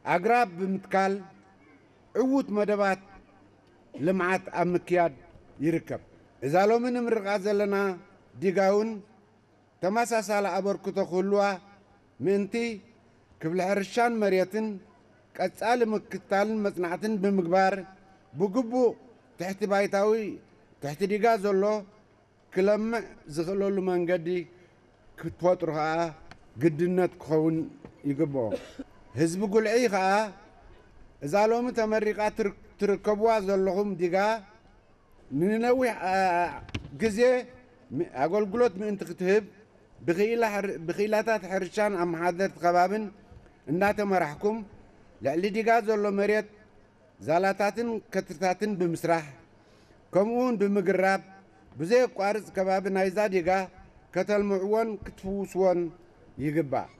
ኣግራብ ብምትካል ዕዉት መደባት ልምዓት ኣብ ምክያድ ይርከብ። እዛ ሎሚ ንምርቓ ዘለና ዲጋ እውን ተመሳሳሊ ኣበርክቶ ክህልዋ ምእንቲ ክፍሊ ሕርሻን መሬትን ቀጻሊ ምክትታልን መጽናዕትን ብምግባር ብግቡእ ትሕቲ ባይታዊ ትሕቲ ዲጋ ዘሎ ክለምዕ ዝኽእለሉ መንገዲ ክትፈጥሩ ከኣ ግድነት ክኸውን ይግብኦ። ህዝቢ ጉልዒ ከኣ እዛ ሎሚ ተመሪቓ ትርከብዋ ዘለኹም ዲጋ ንነዊሕ ግዜ ኣገልግሎት ምእንቲ ክትህብ ብክኢላታት ሕርሻን ኣመሓደርቲ ከባብን እናተመራሕኩም ልዕሊ ዲጋ ዘሎ መሬት ዛላታትን ከትርታትን ብምስራሕ ከምኡውን ብምግራብ ብዘየቋርፅ ከባቢ ናይዛ ዲጋ ከተልምዕዎን ክትፍውስዎን ይግባእ።